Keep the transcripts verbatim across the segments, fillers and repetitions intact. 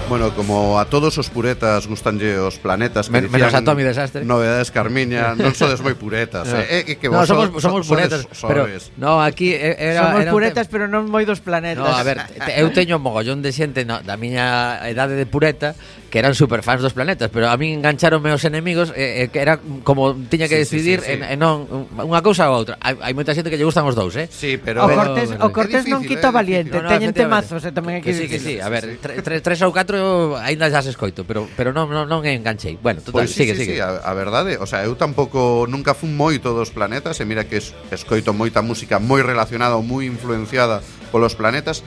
Bueno, como a todos os puretas gustanlle os planetas que Men, menos a Tommy Desastre. Novedades Carmiña, non sodes moi puretas, no. eh, eh, que no, vos somos, so, somos so, puretas, sodes, pero sodes. no, aquí era somos era puretas, pero non moi dos planetas. No, a ver, te, eu teño mogollón de xente no, da miña edade de pureta que eran superfans dos planetas, pero a min engancharonme os enemigos eh, eh, que era como tiña que sí, decidir sí, sí, sí. en, en non unha cousa ou outra. Hai, hai moita xente que lle gustan os dous, eh? Sí, pero o Cortés, o Cortés difícil, non quita eh, valiente, no, no, teñen efectivamente. temazos, e tamén hai Que que sí, que sí, dicir. a ver, tre, tre, tres ou catro aínda xa se escoito, pero pero non non non enganchei. Bueno, total, Pois sí, sigue, sí, sigue. sí, a, a verdade, o sea, eu tampouco nunca fun moito dos planetas, e mira que es, escoito moita música moi relacionada ou moi influenciada polos planetas,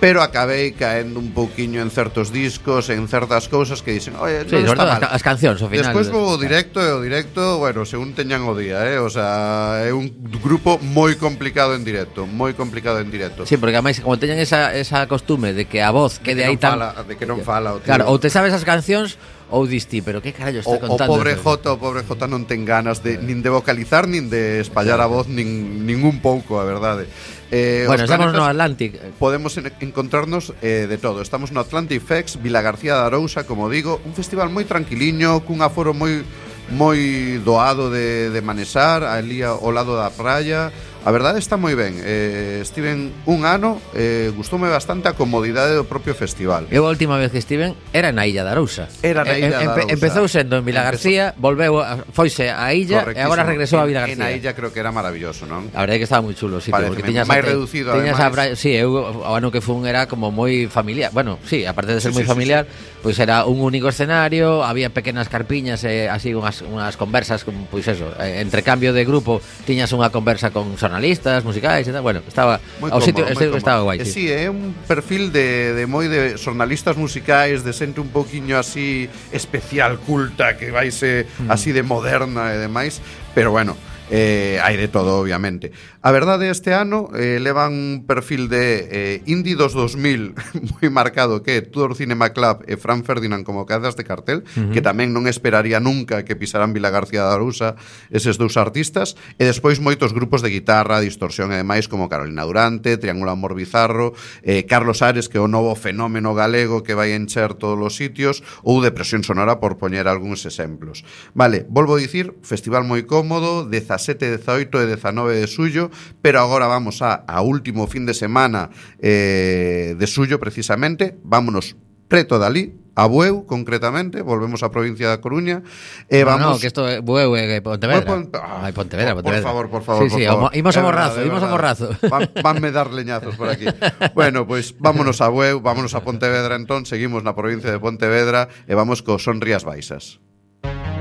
pero acabei caendo un pouquiño en certos discos, en certas cousas que dicen, oye, Sí, non sobre está todo mal. as, as cancións ao final. Despois vou ao directo, e o directo, bueno, según teñan o día, eh? O sea, é un grupo moi complicado en directo, moi complicado en directo. Sí, porque ademais como teñen esa, esa costume de que a voz de quede que aí non tan... fala, de que non fala o tío. Claro, ou te sabes as cancións ou distí, pero que carallo está O, o contando? pobre eso? Jota, o pobre Jota non ten ganas de nin de vocalizar nin de espallar a voz nin ningún pouco, a verdade. Eh, Bueno, os estamos planetas no Atlantic. Podemos en, encontrarnos eh, de todo. Estamos no Atlantic Fest, Vila García de Arousa, como digo, un festival moi tranquiliño, cun aforo moi moi doado de, de manesar, ali ao lado da praia. A verdade está moi ben. Eh, estiven un ano, eh, gustoume bastante a comodidade do propio festival. Eu a última vez que estiven era na Illa de Arousa. Era na Illa de Arousa. Empezou sendo en Vila García, volveu, a, foise a Illa e agora regresou a Vila García. En a Illa creo que era maravilloso, non? A verdade é que estaba moi chulo o sitio, Pareceme porque tiñas máis a, reducido, tiñas a ademais. praia, sí, eu o ano que fun era como moi familiar. Bueno, sí, aparte de ser Sí, moi sí, sí, familiar, pois pues era un único escenario, había pequenas carpiñas e así unhas unhas conversas como pois pues eso, eh, entre cambio de grupo tiñas unha conversa con xornalistas, musicais e tal. Bueno, estaba Moi o cómodo, sitio, moi este cómodo. estaba guai. E Sí. sí, é un perfil de, de moi de xornalistas musicais, de xente un pouquiño así especial, culta, que vaise mm. así de moderna e demais, pero bueno, eh, hai de todo, obviamente. A verdade, este ano eh, levan un perfil de eh, Indie dos dos mil moi marcado, que é Tudor Cinema Club e Fran Ferdinand como cabezas de cartel, uh-huh. que tamén non esperaría nunca que pisaran Vila García de Arousa eses dous artistas, e despois moitos grupos de guitarra, distorsión e demais, como Carolina Durante, Triángulo Amor Bizarro, eh, Carlos Ares, que é o novo fenómeno galego que vai encher todos os sitios, ou Depresión Sonora, por poñer algúns exemplos. Vale, volvo a dicir, festival moi cómodo, dezasete, dezaoito e dezanove de suyo, pero agora vamos a, a último fin de semana eh, de suyo, precisamente. Vámonos preto dali, a Bueu, concretamente, volvemos á provincia da Coruña, e No, vamos... no, que isto é Bueu e Pontevedra. Pon, ah, Ai, Pontevedra, por, Pontevedra. Por favor, por favor, sí, por sí, favor. Imos a É morrazo, verdade, imos a é morrazo. Van, vanme dar leñazos por aquí. Bueno, pois pues, vámonos a Bueu, vámonos a Pontevedra entón, seguimos na provincia de Pontevedra e vamos co Son Rías Baixas.